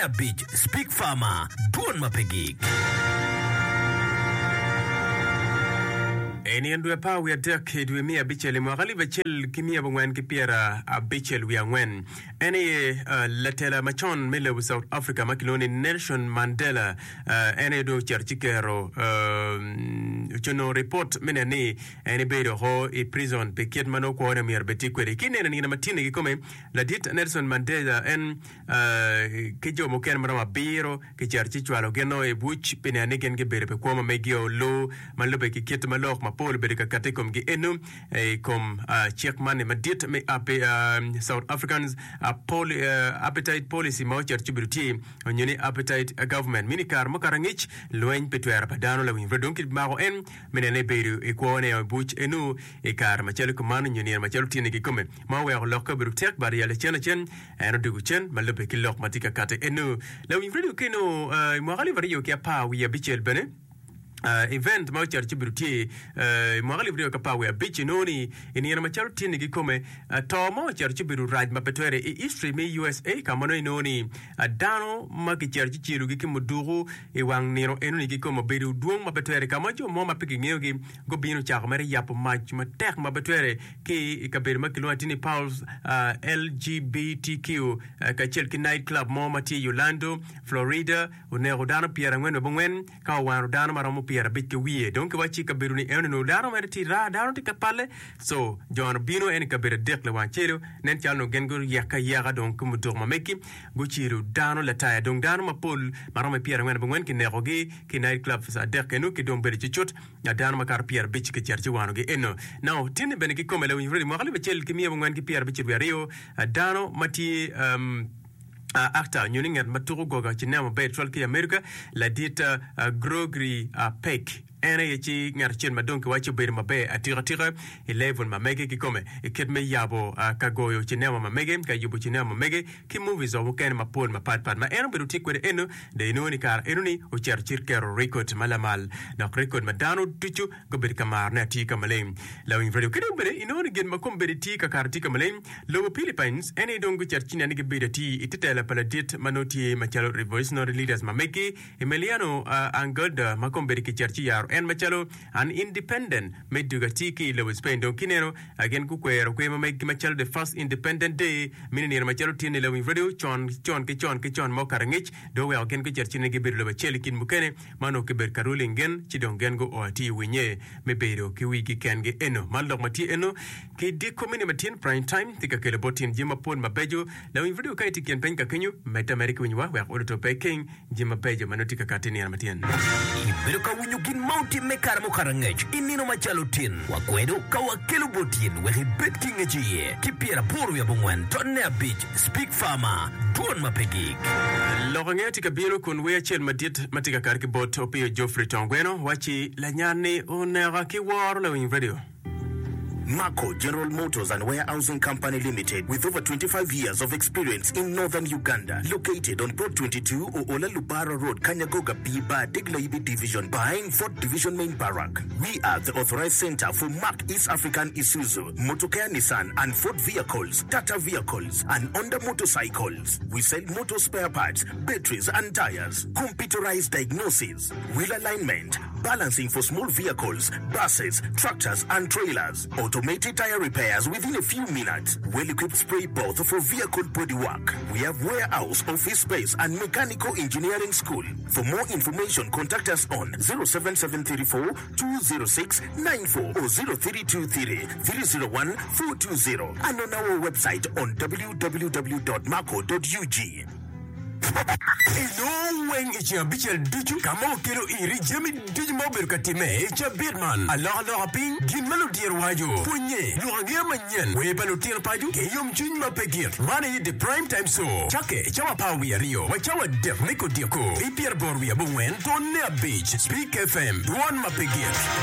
Abic, Speak Farmer, Dwon ma pe gik. I nino dwe apar wiye adek i dwe me abicel i mwaka alip acel ki miya abongwen ki pyera abicel wiye angwen, en aye latela macon me lobo South Africa ma kilwongo ni Nelson Mandela en aye dong ocito ci keto ocono ripot me neno ni en ebedo oko i prison pi kit ma nongo kwone myero bed tye kwede. Ki neno nino matini kikome, ladit Nelson Mandela en ki jo mukene ma romo abiro kicito ci cwalo gin i buc pi neno ni gin gibedo pi kwo ma meggi olu ma lubbe ki kit ma lok mapol obedo ka kati i komgi eno i kom cik man-ni madit me South Africans Apartheid Policy ma ocito ci obedo tye onyo ni Apartheid Government mini kare mukato angec lweny pi twero pa dano lawiny pud dong kimako en me neno ni ebedo i kwone i buc eno i kare macalo kuman onyo nino macalo tye-ni kikome ma oweko lokke obedo tek but i lacen lacen En odwogo cen ma lubbe ki lok ma tye ka kati eno. Lawiny redio keno i mwaka 2016 bene event ma ocito ci obedo tye i mwaka 2015 inongo ni i nino macalo tye-ni kikome to mo ocito ci obedo rac ma pe twere i history me USA ka ma nongo inongo ni dano ma kicito ci celogi ki muduku i wang nino enoni kikome obedo dwong ma pe twere ka ma jo mo ma pe kingeyogi gubino ocako mere yabo mac matek ma pe twere ki i kabedo ma kilwongo atir ni Pulse LGBTQ kacel ki night club mo ma tye i Orlando, Florida, oneko dano pyerangwen wa abongwen ka owano dano ma romo pyerabic ki wiye. Dong kiwacci i kabedo-ni enoni onongo dano mere tye raa, dano tye ka palle. Co jo-ni obino en i kabedo adek lawang acel-lu, nen calo onongo gin guyeke ayeka dong ki muduku ma megi gucelo dano lataya. Dong dano mapol ma romo pyerangwen abongwen kinekogi ki i night clubs adek eno ki dong bedo cucut. Dano makato pyerabic kicito ci wanogi eno. Now, tinni bene kikome lawiny redio mwaka 1956 dano ma tye um, actor nyo ni ngat ma tuko goga cinema maber tutwal ki i America ladit uh, Gregory uh, Peck en aye ci ngat acel ma dong kiwaco obedo maber atika tika i level ma mege kikome i kit me yabo uh, ka goyo cinema ma mege ka yubo cinema ma mege ki movies wa mukene mapol mapat pat ma en obedo tye kwede eno dong inongo ni kare eno ni ocito ci keto record ma lamal dok record ma dano ducu gubedo ka maro ne atir ka maleng. Lawiny radio ki dong bene inongo ni gin ma kombeddi tye ka kato tye ka maleng lobo Philippines en aye dong gucito ci neno ni gibedo atir ite tela pa ladit ma nongo tye macalo revolutionary leaders ma megi Emiliano Angelda ma kombeddi kicito ci yaro en macalo an independent me dwogo atir ki i lobo Spain. Dong kineno, gin gukwero kwer ma meggi macalo The First Independent Day, meno nino macalo tye-ni lawiny radio con con ki con ki con ma okato angec, dong oweko gin gucito ci ni gibedo lobo acel i kin mukene ma onongo kibedo ka ruling gin, ci dong gin guo atir i winye me bedo ki wigi kengi. Eno, man lok ma tye eno ki diko mini ma tin Prime Time tye ka kelo bot tin jami mapol mabeco. Lawiny radio ka itye i kin piny ka kenyo, medde ameda ki winyowa wek oluto pe keng. Jami mabeco ma nongo tye ka kati i nino matin. Ibedo ka winyo gin ma otimme i kare mukato angec i nino macalo tin. Wakwedo ka wakelo bot in wek ibed ki ngec iye ki pyeraboro wiye abongwen tonne abic Speak Farmer, Dwon ma pe gik. Lok angeya tye ka bino kun wer acel madit ma tye ka kato ki bot Opiyo Geoffrey Tongweno wacci lanyan-ni oneka ki woro lawiny radio. Mako General Motors and Warehousing Company Limited with over 25 years of experience in Northern Uganda located on Plot 22 Oola Lubara Road Kanyagoga B Bar Deglayibi Division behind Fort Division Main Barrack. We are the authorized center for Mack East African Isuzu, Motocar Nissan and Ford vehicles, Tata vehicles and Honda motorcycles. We sell motor spare parts, batteries and tires, computerized diagnosis, wheel alignment, balancing for small vehicles, buses, tractors and trailers, automated tire repairs within a few minutes, well-equipped spray booth for vehicle body work. We have warehouse, office space and mechanical engineering school. For more information contact us on 07734 206 94 or 0323 301 420 and on our website on www.maco.ug. Inongo weng i ceng abicel ducu ka ma wakelo iri jami ducu ma obedo ka timme i cabit man, alokaloka piny, gin ma ludiro waco, pwonnye, lok angeya manyen, wer pa lutino paco, ki yomcwiny ma pe gik. Man aye The Prime Time Show, cakke i cawa apar wiye aryo wa cawa adek me kodyeko, pi pyeraboro wiye abongwen tonne abic, Speak FM, dwon ma pe gik.